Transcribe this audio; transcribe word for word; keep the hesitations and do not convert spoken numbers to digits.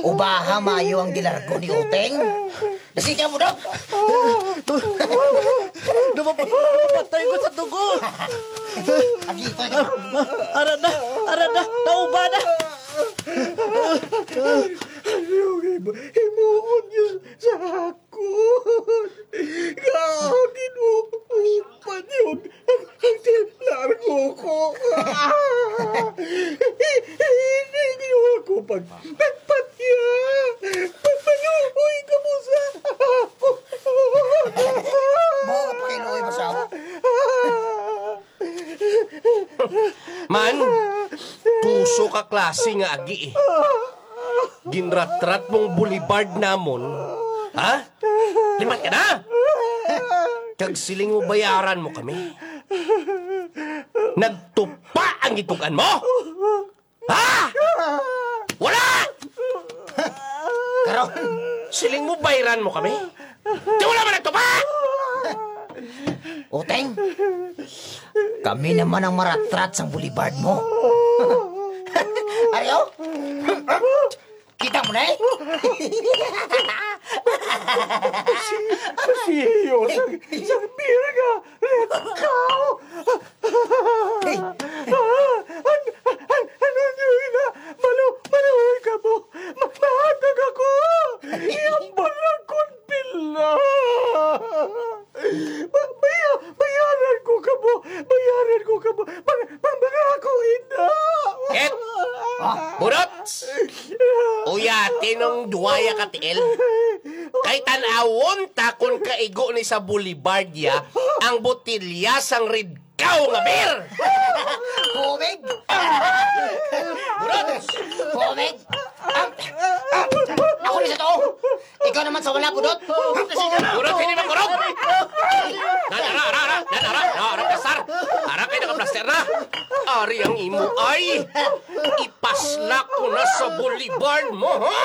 Ubaha maayo ang gilargo ni Uteng. Sige mo, Dok. Napap-, napatay ko sa dugo. Agi, ito, ito. Ah, ah, ara na, ara na, nauba na. Ano yung himu-, himuon niyo sa akon? Kaagin mo, upat yun. Ang, ang til-, largo ko. Hindi niyo ako pag-, pagpatya. Magpaluoy ka mo sa ako. Mao ka pa kay Loy, masawa. Man, puso ka klase nga agi eh. Ginratrat mong boulevard namon, ha? Limat ka na! Kag siling mo bayaran mo kami. Nagtupa ang gitug-an mo? Ha? Wala! Karon, siling mo bayran mo kami? Di wala man nagtupa! Uteng, kami naman ang maratrat sang boulevard mo. Ari, oh. Kita mo na eh. Masiyo sang, sang birga. Let's go! Hey. An, an, ano niyo ina? Malu-, maluoy ka mo. Ma-, mahatag ako. Iyang balakon pila. Ba-, baya-, bayaran ko kamo. Bayaran ko kamo. Mag-, mag-, mangako, ina. Ket, ah, burot! Uya, tinong duwaya ka tiil. Kay tan-awon ta kon kaigo ni sa Boulevard ya ang botelya sang Red Cow nga beer. Kumig! Burot! Kumig! Ah, ah, ako ni sa to! Ikaw naman sa wala, Budot! Burot, hindi magkurog! Nan, ara, ara, ara! Nan, ara, ara, ara, plastar! Ara kayo nakaplaster na! Ari ang imo ay! Ipaslak ko na sa boulevard mo, ha?